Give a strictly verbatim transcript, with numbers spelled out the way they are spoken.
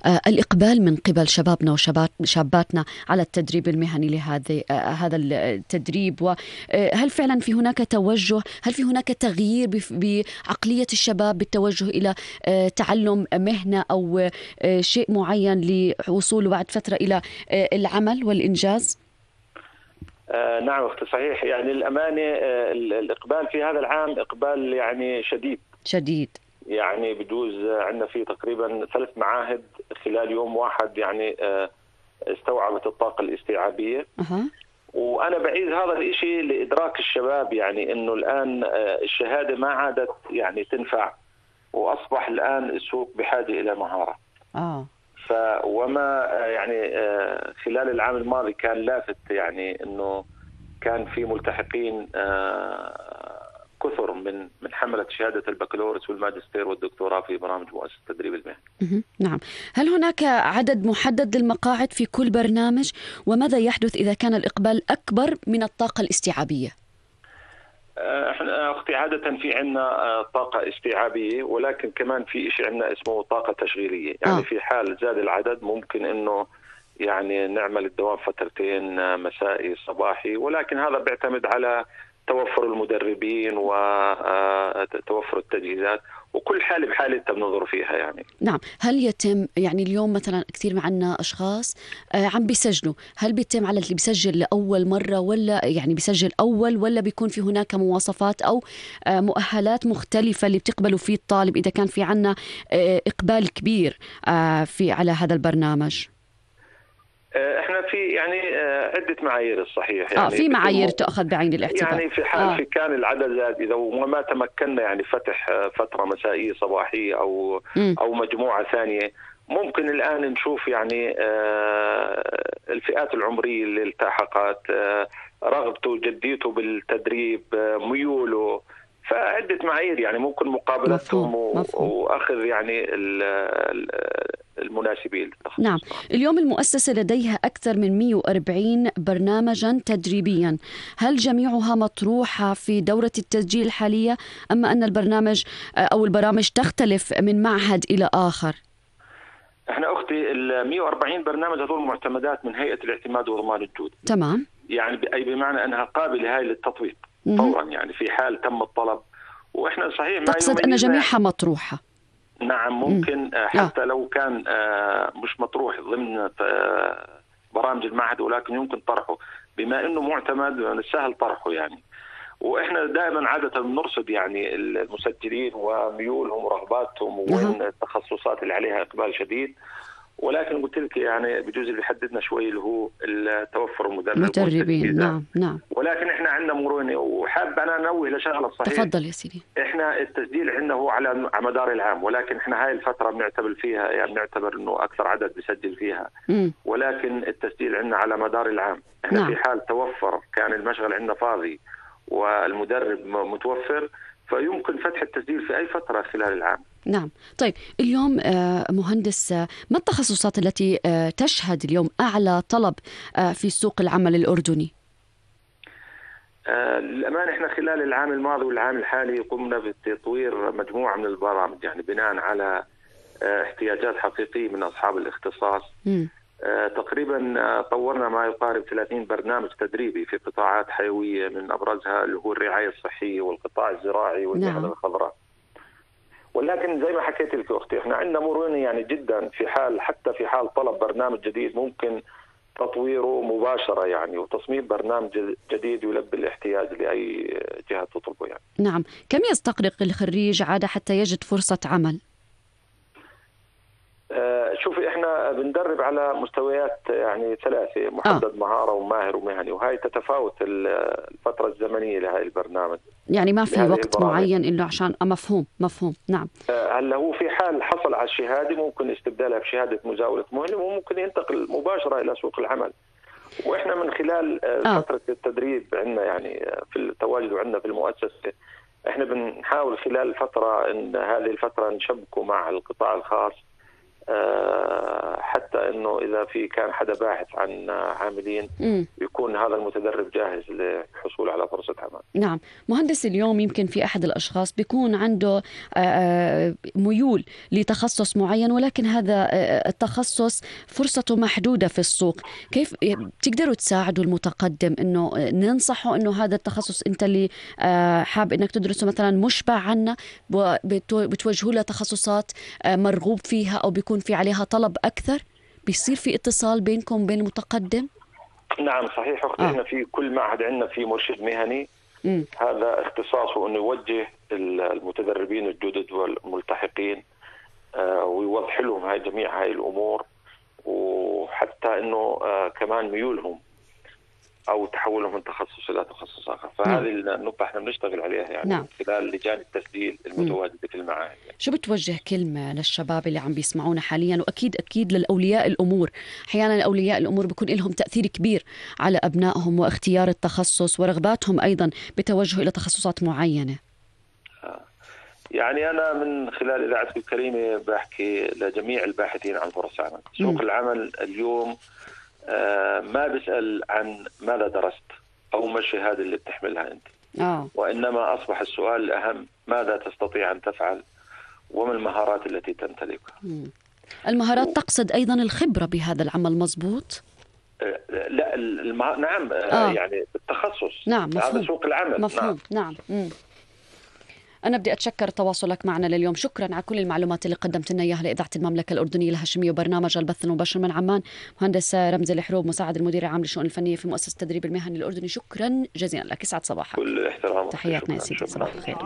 آه، الإقبال من قبل شبابنا وشاباتنا على التدريب المهني لهذا آه، هذا التدريب، وهل فعلا في هناك توجه، هل في هناك تغيير بف- بعقلية الشباب بالتوجه إلى آه، تعلم مهنة أو آه، شيء معين لوصوله بعد فترة إلى آه، العمل والإنجاز؟ آه نعم أختي صحيح، يعني الأمانة آه الإقبال في هذا العام إقبال يعني شديد شديد. يعني بجوز عندنا في تقريبا ثلاث معاهد خلال يوم واحد يعني آه استوعبت الطاقة الاستيعابية. أه. وأنا بعيد هذا الإشي لإدراك الشباب، يعني إنه الآن آه الشهادة ما عادت يعني تنفع، وأصبح الآن السوق بحاجة إلى مهارة. آه. ف وما يعني آه خلال العام الماضي كان لافت، يعني إنه كان في ملتحقين آه كثر من من حملة شهادة البكالوريوس والماجستير والدكتوراه في برامج مؤسسة التدريب المهني. نعم. هل هناك عدد محدد للمقاعد في كل برنامج؟ وماذا يحدث إذا كان الإقبال أكبر من الطاقة الاستيعابية؟ احنا اختي عادة في عندنا طاقة استيعابية، ولكن كمان في شيء عندنا اسمه طاقة تشغيلية، يعني آه. في حال زاد العدد ممكن انه يعني نعمل الدوام فترتين مسائي صباحي، ولكن هذا بيعتمد على توفر المدربين وتوفر التجهيزات، وكل حالة بحالة بننظر فيها يعني. نعم. هل يتم يعني اليوم مثلا كثير معنا أشخاص آه عم بيسجلوا، هل بيتم على اللي بيسجل لأول مرة، ولا يعني بيسجل أول، ولا بيكون في هناك مواصفات أو آه مؤهلات مختلفة اللي بتقبلوا فيه الطالب إذا كان في عنا آه إقبال كبير آه في على هذا البرنامج؟ احنا في يعني عده معايير الصحيح، يعني اه في معايير تؤخذ بعين الاعتبار. يعني في حال آه. في كان العدد زاد، اذا وما تمكنا يعني فتح فتره مسائيه صباحيه او م. او مجموعه ثانيه، ممكن الان نشوف يعني الفئات العمريه اللي التحقت، رغبته جديته بالتدريب، ميوله، فعدة معايير يعني ممكن مقابلتهم وأخذ يعني المناسبين. نعم. اليوم المؤسسة لديها أكثر من مئة وأربعين برنامجا تدريبيا، هل جميعها مطروحة في دورة التسجيل الحالية، أما أن البرنامج أو البرامج تختلف من معهد إلى آخر؟ احنا أختي ال مئة وأربعين برنامج هذول معتمدات من هيئة الاعتماد وضمان الجودة. تمام. يعني أي بمعنى أنها قابلة هاي للتطبيق فورا، يعني في حال تم الطلب. واحنا صحيح ما تقصد أن جميعها مطروحة؟ نعم ممكن مم. حتى آه. لو كان مش مطروح ضمن برامج المعهد، ولكن يمكن طرحه بما انه معتمد سهل طرحه يعني. واحنا دائما عادة بنرصد يعني المسجلين وميولهم ورغباتهم وين التخصصات اللي عليها اقبال شديد، ولكن قلت لك يعني بجوز اللي بيحددنا شوي اللي هو التوفر المدرب مدربين. نعم نعم. ولكن احنا عندنا مرونه، وحاب انا انوه لشغله صحيح. تفضل يا سيدي. احنا التسجيل عندنا هو على مدار العام، ولكن احنا هاي الفتره بنعتبر فيها يعني بنعتبر انه اكثر عدد بيسجل فيها، م. ولكن التسجيل عندنا على مدار العام. احنا نعم. في حال توفر كان المشغل عندنا فاضي والمدرب متوفر، فيمكن فتح التسجيل في أي فترة خلال العام. نعم. طيب اليوم مهندس، ما التخصصات التي تشهد اليوم أعلى طلب في سوق العمل الأردني؟ للأمانة إحنا خلال العام الماضي والعام الحالي قمنا بتطوير مجموعة من البرامج، يعني بناء على احتياجات حقيقية من أصحاب الاختصاص. م. تقريبا طورنا ما يقارب ثلاثين برنامج تدريبي في قطاعات حيوية، من أبرزها اللي هو الرعاية الصحية والقطاع الزراعي والمهن الخضراء. ولكن زي ما حكيت لك أختي احنا عندنا مرونة يعني جدا، في حال حتى في حال طلب برنامج جديد ممكن تطويره مباشرة يعني، وتصميم برنامج جديد يلبي الاحتياج لأي جهة تطلبه يعني. نعم. كم يستغرق الخريج عادة حتى يجد فرصة عمل؟ شوفي احنا بندرب على مستويات يعني ثلاثة، محدد آه. مهارة وماهر ومهني، وهي تتفاوت الفترة الزمنية لهذا البرنامج. يعني ما في وقت البرامج معين إنه عشان مفهوم مفهوم نعم. هلا هو في حال حصل على الشهادة ممكن استبدالها بشهادة مزاولة مهنة، وممكن ينتقل مباشرة إلى سوق العمل. وإحنا من خلال آه. فترة التدريب عندنا يعني في التواجد عندنا في المؤسسة، إحنا بنحاول خلال الفترة إن هذه الفترة نشبكه مع القطاع الخاص حتى انه اذا في كان حدا باحث عن عاملين م. يكون هذا المتدرب جاهز للحصول على فرصة عمل. نعم مهندس، اليوم يمكن في احد الاشخاص بيكون عنده ميول لتخصص معين، ولكن هذا التخصص فرصته محدودة في السوق. كيف بتقدروا تساعدوا المتقدم انه ننصحه انه هذا التخصص انت اللي حاب انك تدرسه مثلا مشبع عنه، بتوجهوا له تخصصات مرغوب فيها او بيكون في عليها طلب اكثر، بيصير في اتصال بينكم بين المتقدم؟ نعم صحيح اختي. آه. احنا في كل معهد عندنا في مرشد مهني م. هذا اختصاصه انه يوجه المتدربين الجدد والملتحقين آه ويوضح لهم هاي جميع هاي الامور، وحتى انه آه كمان ميولهم او تحولهم من تخصص الى تخصص اخر. فهذه نعم. النقطه احنا بنشتغل عليها يعني نعم. خلال لجان التسجيل المتواجده في المعاهد. شو بتوجه كلمه للشباب اللي عم بيسمعونا حاليا، واكيد اكيد للاولياء الامور؟ احيانا اولياء الامور بيكون لهم تاثير كبير على ابنائهم واختيار التخصص ورغباتهم ايضا بتوجه الى تخصصات معينه. يعني انا من خلال اذاعتك الكريمه بحكي لجميع الباحثين عن فرص عمل. سوق م. العمل اليوم آه ما بيسأل عن ماذا درست أو ما الشهادة اللي بتحملها أنت. آه. وإنما أصبح السؤال الأهم ماذا تستطيع أن تفعل وما المهارات التي تمتلكها. مم. المهارات و... تقصد أيضا الخبرة بهذا العمل، مظبوط؟ آه لا المه... نعم آه. يعني التخصص. نعم مفهوم. هذا سوق العمل. مفهوم. نعم, نعم. أنا بدي أتشكر تواصلك معنا لليوم، شكرا على كل المعلومات اللي قدمت لنا إياها لإذاعة المملكة الأردنية الهاشمية وبرنامج البث المباشر من عمان. مهندس رمزي الحروب، مساعد المدير العام للشؤون الفنية في مؤسسة التدريب المهني الأردني، شكرا جزيلا لك، يسعد صباحك. كل احترام. تحياتنا يا سيدي، صباح الخير.